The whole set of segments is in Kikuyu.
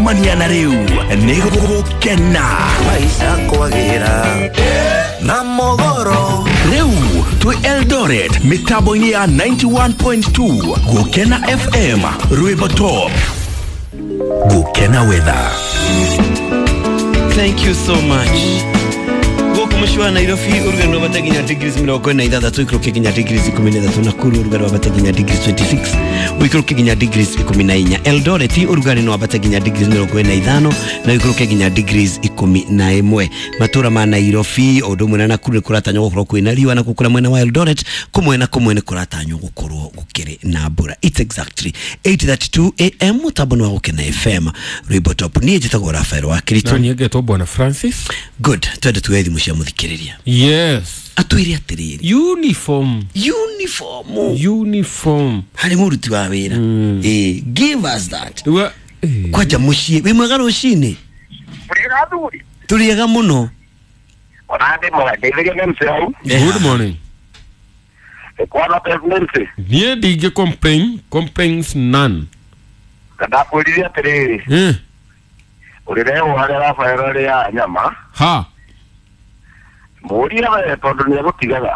Kumania na rĩu nĩ gũkena Maisha kwagĩra na mogoro. Rĩu twĩ Eldoret mĩtambo-inĩ ya 91.2 Gũkena FM, rwĩmbo top. Gũkena weather. Thank you so much. Gũkũ mũciĩ wa Nairobi ũrugarĩ no wambate nginya degrees 46, ũikũrũke nginya degrees 13. Nakuru ũrugarĩ wambate nginya degrees 26, ũikũrũke nginya degrees 14. Eldoret ũrugarĩ no wambate nginya degrees 45 na ũikũrũke nginya degrees 11. Matũra ma Nairobi o ũndũ ũmwe na Nakuru nĩ kũratanywo gũkorwo kwĩna riũa, na kũrĩa mwena wa Eldoret kũmwe na kũmwe nĩ kũratanywo gũkorwo gũkĩrĩ na mbura. It's exactly 8:32 am, mũtambo nĩ wa Gũkena FM, rwĩmbo top. Niĩ njĩtagwo Rafael wa Na Kiritu. niĩ ngetwo Bwana Francis. Good, twende tuoe thimũ cia mũthikĩrĩria. Yes. Atwĩre atĩrĩrĩ, Uniform. Uniform. Uniform. Harĩ mũruti wa wĩra. Ĩ, give us that. Rĩu Kwanja mũciĩ wĩ mwega rũcinĩ? Mũrĩega athuri? Tũrĩega mũno. Ona ndĩ mwega, ngeithĩria MC hau. Good morning. Kwana MC. Niĩ ndingĩ complain, complaints none. Ndakwĩrire atĩrĩrĩ, ũrĩrehwo harĩa Rafael arĩa nyama, Ha. Mũrie we tondũ nĩ egũtigaga.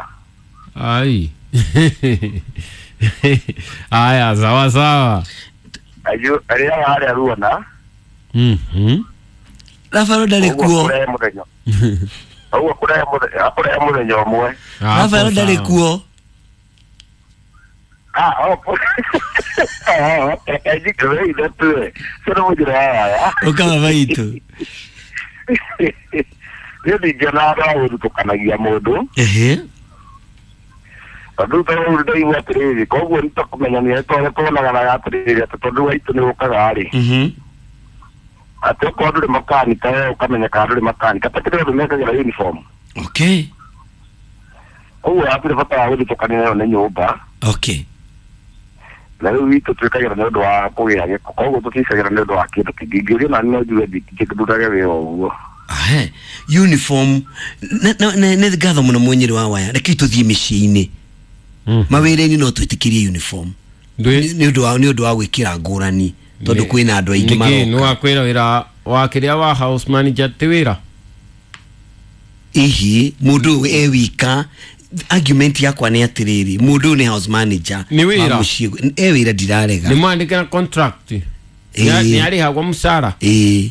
Ai. Aya, sawa sawa. Arĩaga harĩa ruona. Rafael ndarĩ Ũguo kuo. kũrehe mũthenya. Ũguo kũrehe mũthenya, akũrehe mũthenya ũmwe. Rafael ndarĩ kuo. Ah, oh, reke njikare ithe tuwe. Cio nĩ mũnjĩra yaya. Ũkaba maitũ. Niĩ ndingĩona andũ a gũthutũkanagia mũndũ. Tondũ rĩu ndaigua atĩrĩrĩ, koguo nĩtũkũmenya nĩ tondũ tuonaganaga atĩrĩrĩ, atĩ tondũ waitũ nĩ ũkaga rĩ, atĩ okorwo ndũrĩ makanika we ũkamenya kana ndũrĩ makanika, ta kĩrĩa andũ mekagĩra uniform. Koguo hatirĩ bata wa gũthutũkania nayo nĩ nyũmba. Na rĩu itũ twĩkagĩra nĩ ũndũ wa kũgĩa gĩko, koguo tũtiĩkagĩra nĩ ũndũ wa kĩndũ kĩngĩ. Ingĩũrio nani no njuge ndingĩndutaga wĩra ũguo. Ahe, uniform nĩ ngatho mũno mwenyere wa waya. Rekei tũthiĩ mĩciĩ-inĩ. Mawĩra-inĩ no twĩtĩkĩrie uniform nĩ ũndũ wa gwĩkĩra ngũrani, tondũ kwĩna andũ aingĩ Nĩkĩ maroka. nĩ wakwĩra wĩra wa kĩrĩa wa house manager ti wĩra? Ihi mũndũ ũyũ e wika, argument yakwa nĩ atĩrĩrĩ, mũndũ ũyũ nĩ house manager Nĩ wĩra. wa mũciĩ, e wĩra, ndirarega. Nĩ mwandĩke na contract. Nĩ arĩhagwo mũcara. Ĩĩ.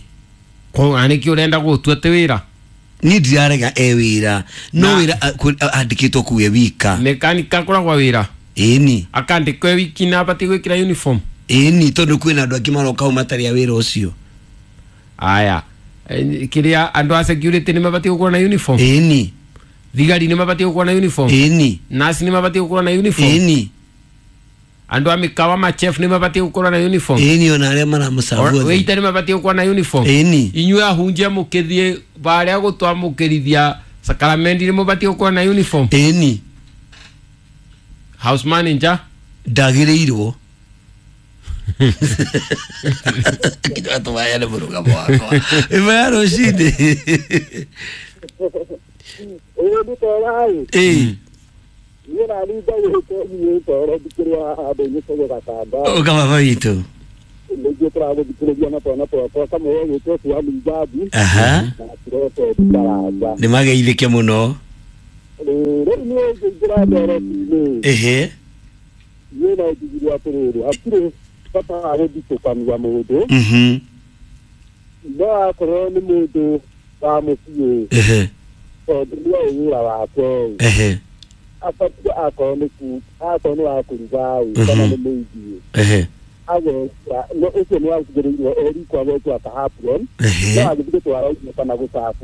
Koguo nĩkĩ ũrenda gũtua ti wĩra? Niĩ ndirarega e wĩra, no wĩra andĩkĩtwo kũu e wika. Mekanika akoragwo wĩra. Ĩni. Akandĩkwo e wiki na abatiĩ gwĩkĩra uniform. Ĩni, tondũ kwĩna andũ angĩ maroka hau matarĩ a wĩra ũcio. Aya. Kĩrĩa andũ a security nĩ mabatiĩ gũkorwo na uniform? Ĩni. Thigari nĩ mabatiĩ gũkorwo na uniform? Ĩni. Nurse nĩ mabatiĩ gũkorwo na uniform? Ĩni. Andũ a mĩkawa, machef nĩ mabatiĩ gũkorwo na uniform? Ĩni, ona arĩa maramũcabu othe. Waiter nĩ mabatiĩ gũkorwo na uniform? Ĩni. Inyuĩ ahunjia mũkĩthiĩ barĩa gũtwamũkĩrithia sakaramendi nĩ mũbatiĩ gũkorwo na uniform? Ĩni. House manager? Ndagĩrĩirwo kinya tũmayane mũrũgamo wakwa ĩmwe ya rũcinĩ. Ĩĩ, nĩ Ĩĩ. Niĩ nani ndagĩte nyĩte thikĩrĩa handũ gĩcũgũ gatanda. Ũka baba witũ. Nĩguo tũragũthikĩrĩria na twana twakwa, kamwe gĩtwo Suami Njabi na Kirote Karanja. Nĩ mageithĩke mũno. Rĩu niĩ ngĩingĩra ndereti-inĩ, niĩ no njugire atĩrĩrĩ, hatirĩ bata wa gũthitũkania mũndũ, no akorwo nĩ mũndũ wa mũciĩ, tondũ nĩoĩ wĩra wake, abatiĩ akorwo nĩ akorwo nĩ wa kũruga ĩ, kana nĩ mũigiĩ, agekĩra no ũcio nĩ agĩrĩirwo erikwo agekĩra ka apron, no agĩthiĩ gũtwara irio kana gũcabu.